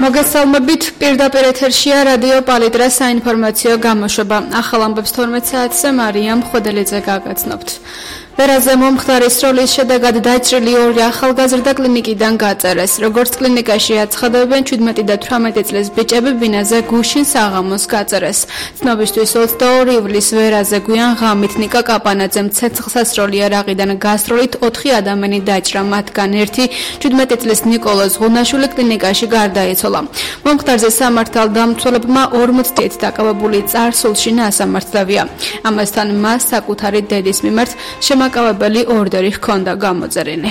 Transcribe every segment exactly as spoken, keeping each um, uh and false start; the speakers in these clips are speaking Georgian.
მოგესალმებით, პირდაპირ ეთერშია რადიო პალიტრა საინფორმაციო გამოშვება. ახალ ამბებს თორმეტ საათზე მარია მხვედელიძე გაგაცნობთ. ვერაზე მომხდარის როლის შედეგად დაჭრილი ორი ახალგაზრდა კლინიკიდან გაწერეს. როგორც კლინიკაში აცხადებენ, ჩვიდმეტი და თვრამეტი წლის ბიჭები ბინაზე გუშინ საღამოს გაწერეს. ცნობისთვის ოცდაორი ივლისს ვერაზე გვიან ღამით ნიკა კაპანაძემ ცეცხლსასროლი არაღიდან გასროლით ოთხი ადამიანი დაჭრა, მათგან ერთი ჩვიდმეტი წლის ნიკოლოზ ზღუნაშვილი კლინიკაში გარდაიცვალა. მომხდარზე სამართალდამცველებმა ორმოცდაათი დაკავებული წარსულში ნასამართლავია. ამასთან მას საკუთარი დედის მიმართ შემაკავებელი ორდერი ჰქონდა გამოწერილი.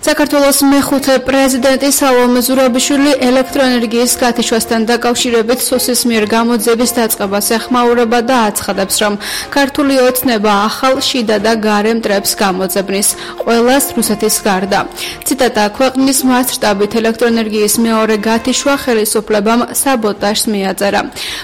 საქართველოს მეხუთე პრეზიდენტი სალომე ზურაბიშვილი ელექტროენერგიის გათიშვასთან დაკავშირებით სუსის მიერ გამოძიების დაწყებას ეხმაურება და აცხადებს, რომ ქართული ოცნება ახალ შიდა და გარე მტრებს გამოძებნის, ყველას რუსეთის გარდა. ციტატა: ქვეყნის მასშტაბით ელექტროენერგიის მეორე გათიშვა ხელისუფლებამ საბოტაჟს მიაწერა.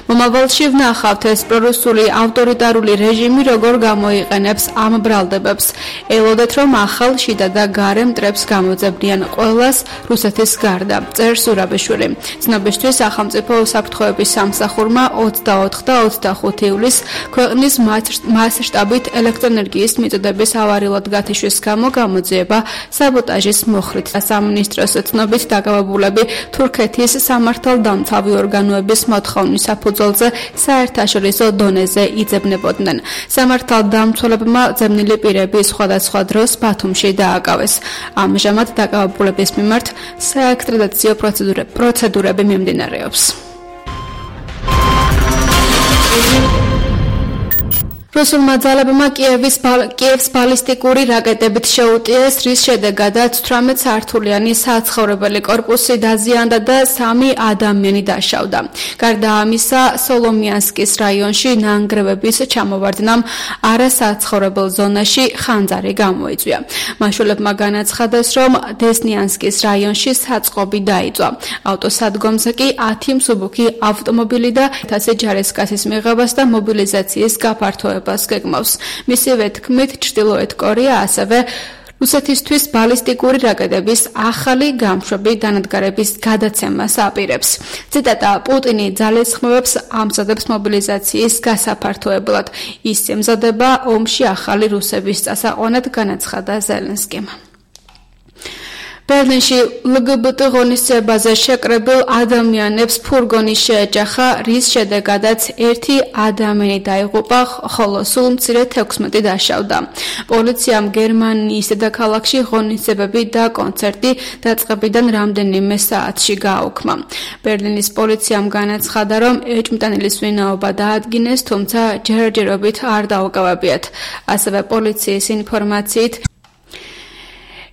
მომავალში ვნახავთ ეს პრორუსული ავტორიტარული რეჟიმი როგორ გამოიყენებს ამ ბრალდებებს. ელოდეთ, რომ ახალ შიდა და გარე მტრებს გამოძებნიან, ყველას რუსეთის გარდა, წერს ზურაბიშვილი. ცნობისთვის სახელმწიფო უსაფრთხოების სამსახურმა ოცდაოთხი და ოცდახუთი ივლისს ქვეყნის მასშტაბით ელექტროენერგიის მიწოდების ავარიულად გათიშვის გამო გამოძიება საბოტაჟის მოხლით. სამინისტროს ცნობით დაკავებულები თურქეთის სამართალდამცავი ორგანოების მოთხოვნის საფუძველზე საერთაშორისო დონეზე იძებნებოდნენ. სამართალდამცველებმა ძებნილი პირები სხვადასხვა დროს ბათუმში დააკავეს. ამჟამად დაკავებულების მიმართ საექსტრადიციო პროცედურები მიმდინარეობს. რუსულმა ძალებმა კიევს ბალისტიკური რაკეტებით შეუტიეს, რის შედეგადაც თვრამეტ სართულიანი საცხოვრებელი კორპუსი დაზიანდა და სამი ადამიანი დაშავდა. გარდა ამისა, სოლომიანსკის რაიონში ნანგრევების ჩამოვარდნამ არასაცხოვრებელ ზონაში ხანძარი გამოიწვია. მაშველებმა განაცხადეს, რომ დესნიანსკის რაიონში საწყობი დაიწვა. ავტოსადგომზე კი ათი მსუბუქი ავტომობილი და ათასი ჯარისკაცის მიღებას და მობილიზაციის გაფართოებას გეგმავს. მისივე თქმით, ჩრდილოეთ კორეა ასევე რუსეთისთვის ბალისტიკური რაკეტების ახალი გამშვები დანადგარების გადაცემას აპირებს. ციტატა: პუტინი ძალისხმევებს ამზადებს მობილიზაციის გასაფართოებლად. ის ემზადება ომში ახალი რუსების წასაყვანად, განაცხადა ზელენსკიმ. ბერლინში ლგბტ ღონისძიებაზე შეკრებილ ადამიანებს ფურგონი შეეჯახა, რის შედეგადაც ერთი ადამიანი დაიღუპა, ხოლო სულ მცირე თექვსმეტი დაშავდა. პოლიციამ გერმანიის დედაქალაქში ღონისძიებები და კონცერტი დაწყებიდან რამდენიმე საათში გააუქმა. ბერლინის პოლიციამ განაცხადა, რომ ეჭვმიტანილის ვინაობა დაადგინეს, თუმცა ჯერჯერობით არ დაუკავებიათ. ასევე პოლიციის ინფორმაციით,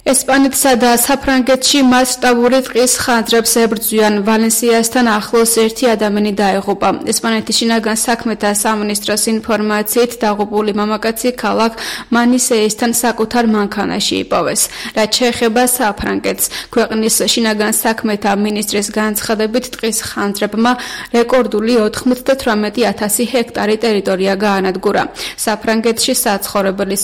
ესპანეთსა და საფრანგეთში მასშტაბური ტყის ხანძრებს ებრძვიან. ვალენსიასთან ახლოს ერთი ადამიანი დაიღუპა. ესპანეთის შინაგან საქმეთა სამინისტროს ინფორმაციით, დაღუპული მამაკაცი ქალაქ მანისეისთან საკუთარ მანქანაში იპოვეს. რაც შეეხება საფრანგეთს, ქვეყნის შინაგან საქმეთა მინისტრის განცხადებით, ტყის ხანძრებმა რეკორდული ოთხმოცდათვრამეტი ათასი ჰექტარი ტერიტორია გაანადგურა. საფრანგეთში საცხოვრებელი